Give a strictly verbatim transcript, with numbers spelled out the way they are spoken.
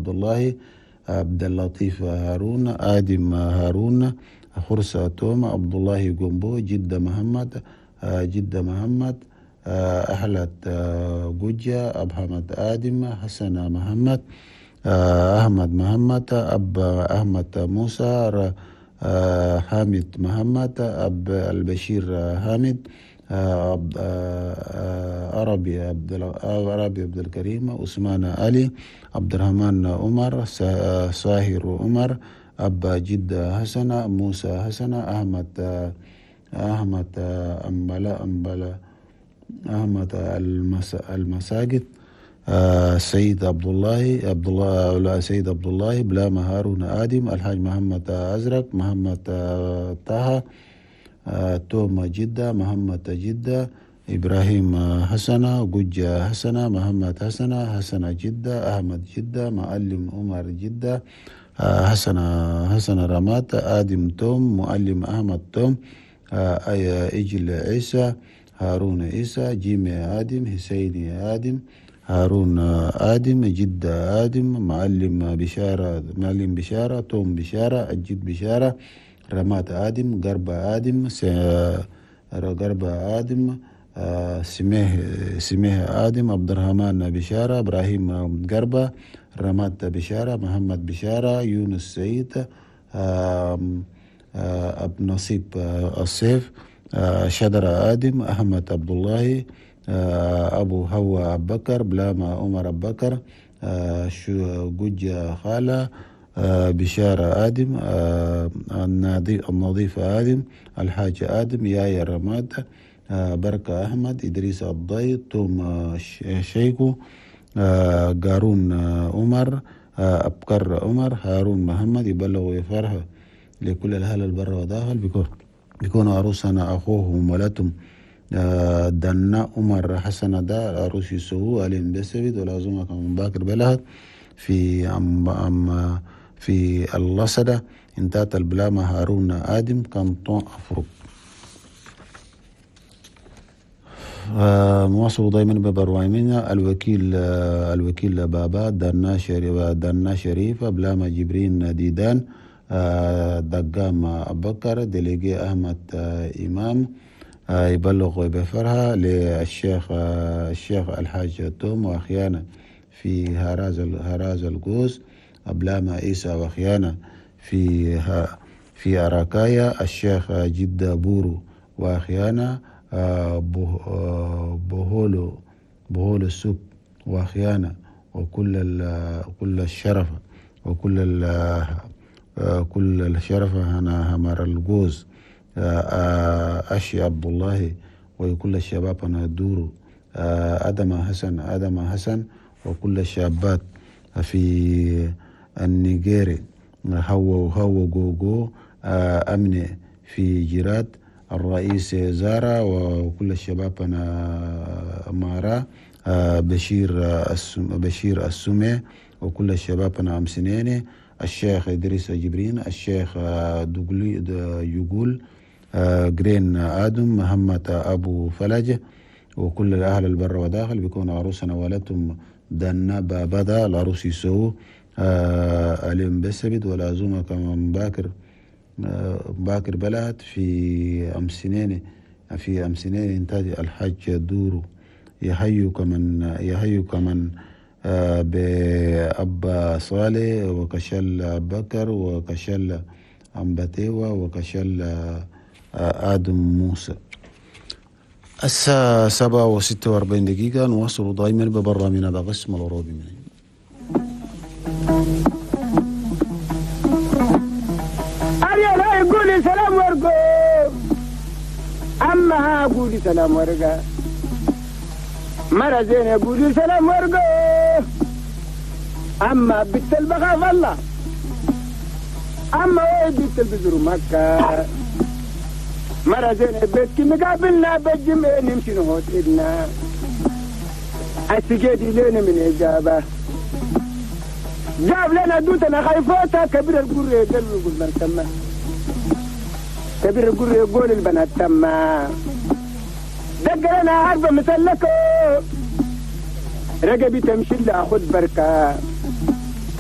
عبد الله عبد اللطيف هارون آدم هارون خرسة توم عبد الله جومبو جدة محمد جدة محمد أهلت جوجة أبحمد آدم حسن محمد أحمد محمد أب أحمد موسى حامد محمد أب البشير حامد عربي عبد عربي عبد الكريم عثمان علي عبد الرحمن عمر ساهر عمر أبا جدة حسن موسى حسن أحمد أحمد أمبلا أمبلا أحمد المساجد سيد عبد الله عبد الله سيد عبد الله بلام هارون آدم الحاج محمد أزرق محمد طه توما جدة محمد جدة إبراهيم حسنة جوجة حسنة محمد حسنة حسنة جدة أحمد جدة معلم عمر جدة حسن حسن رمات آدم توم معلم أحمد توم إجل عيسى هارون عيسى جيمي آدم حسيني آدم هارون آدم جدة آدم معلم بشارة معلم بشارة توم بشارة الجد بشارة رمات آدم قرب آدم قرب آدم سميه سميه آدم عبد الرحمن بشارة إبراهيم قربة رمات بشارة محمد بشارة يونس سعيد أب نصيب السيف شدر آدم أحمد عبد الله أبو هوا أبو بكر بلاما عمر أبو بكر جوجة خالة بشارة آدم النظيف آدم الحاج آدم يايا رماد بركة أحمد إدريس الضي توم شيكو قارون عمر أبكر عمر هارون محمد يبلغ يفرح لكل الأهل البر وداخل بيكون بيكون عروسنا أخوهم ولتم دنا عمر حسن دا عروس يسوه ألين بسبيد والعزومة كمان باكر بلهد في أم أم في اللصدة انتهت البلامة هارون آدم كانتون أفرق. مواصل دائما ببروايمنا الوكيل الوكيل بابا دنا شريف دنا شريف بلامة جبرين ديدان دقام أبكر ديليجي أحمد إمام يبلغ بفرها للشيخ الشيخ الحاج توم وأخيانا في هراز هراز القوس أبلاما عيسى وأخيانا في في أراكايا الشيخ جدة بورو وأخيانا بهولو بهولو السوق وأخيانا وكل كل الشرف وكل كل الشرف هنا همر الجوز أشي عبد الله وكل الشباب أنا دورو آدم حسن آدم حسن وكل الشابات في النيجيري هو هو جوجو أمني في جيرات الرئيس زارا وكل الشباب أنا مارا بشير بشير السمي وكل الشباب أنا أمسنيني الشيخ إدريس جبرين الشيخ دوغلي يقول جرين آدم محمد أبو فلج وكل الأهل البر وداخل بيكون عروسنا ولتم دنا بابدا العروس يسو أليم بسبد والعزومة كمان باكر باكر بلد في أمسنين في أمسنين إنتاج الحاج دورو يحيو كمن يحيو كمن بأبا صالح وكشل بكر وكشل أمبتيوة وكشل آدم موسى. الساعة سبعة وستة وأربعين دقيقة نواصل دائما ببرنامجنا بقسم العروبي. من أريا قولي سلام ورقو أما قولي سلام ورقة مرة زين قولي سلام ورقو أما بنت البخاف الله أما وين بنت البزر مكة مرة زين بيتك مقابلنا بالجمع نمشي نهوت إدنا السجادي لنا من إجابة جاب لنا دوتنا خايفوتا كبير القرية قال يقول من تما كبير القرية يقول البنات تما دق لنا عربة مسلكة رقبي تمشي لأخذ بركة.